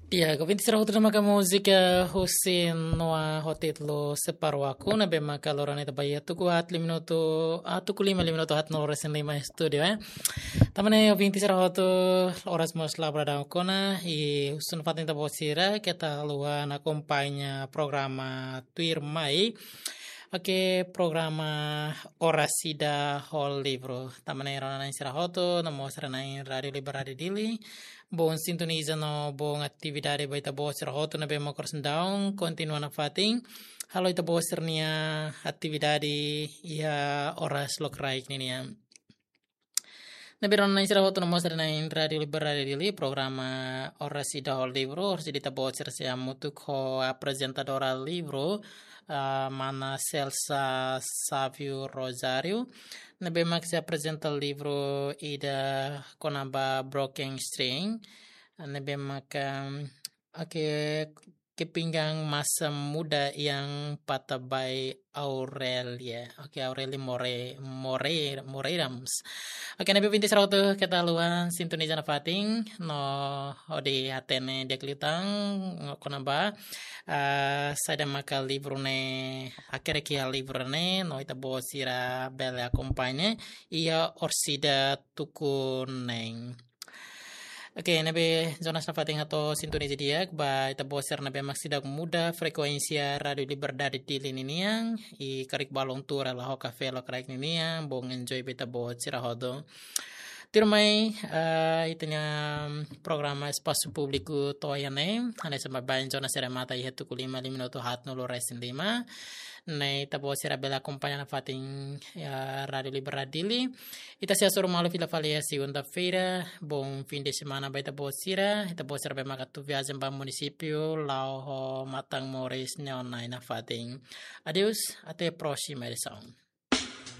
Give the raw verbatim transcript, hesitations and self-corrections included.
Ya, ouvinte sira hotu, ne'e maka múzika husi Noah ho títulu Separa Aku, ne'ebé maka loron ne'e ita ba iha tuku haat lima minutu, ah, tuku lima, lima minutu haat nulu resin lima estúdiu, eh. Tanba ne'e ouvinte sira hotu, oras mós la bradau kona, i husu nafatin ita-boot sira, keta haluha akompaña programa tuirmai. Oke, programa Oras Ida ho Livru. Tanba ne'e rona-na'in sira hotu, no mós rona-na'in Rádiu Liberdade Dili. Bom sintoniza no bom atividade ba ita-boot sira hotu ne'ebé mak oras daudaun kontinua nafatin halo ita-boot sira-nia atividade iha oras lokraik ninian. Ne'ebé rona-na'in sira hotu, no mós rona-na'in Rádiu Liberdade Dili, programa Oras Ida ho Livru, oras ida ita-boot sira sei hamutuk ho aprezentadora livru, ah, mana Celsa Sávio Rosário, ne'ebé mak sei aprezenta livru ida kona-ba Broken String, ne'ebé mak, em, oke, Kepinggang Masa Muda yang Patah by Aurelia. Oke, Aurelia More-, More-, Moreirams. Oke, ne'ebé ouvinte sira hotu, keta haluha sintoniza nafatin, no hodi hatene di'ak liután kona-ba, ah, saida maka livru ne'e, hakerek iha livru ne'e, no ita-boot sira bele akompaña iha oras ida tuku neen. Oke, ne'ebé Jonas nafatin hato'o sintoniza di'ak ba ita-boot sira ne'ebé mak seidauk muda frekuénsia Rádiu Liberdade Dili ninian, i karik balun tuur hela ho kafé lokraik ninian, bom enjoy ba ita-boot sira hotu. Tuirmai, eh, ita-nia programa Espasu Públiku to'o iha ne'e, hanesan baibain Jonas remata iha tuku lima, lima minutu haat nulu resin lima. Ne'e ita-boot sira bele akompaña nafatin iha Rádiu Liberdade Dili. Ita sei hasoru malu fila fali iha segunda-feira. Bom fim de semana ba ita-boot sira. Ita-boot sira ne'ebé mak atu viajen ba munisípiu, la'o ho matan-moris, neon-na'in nafatin. Adeus, até a próxima edição.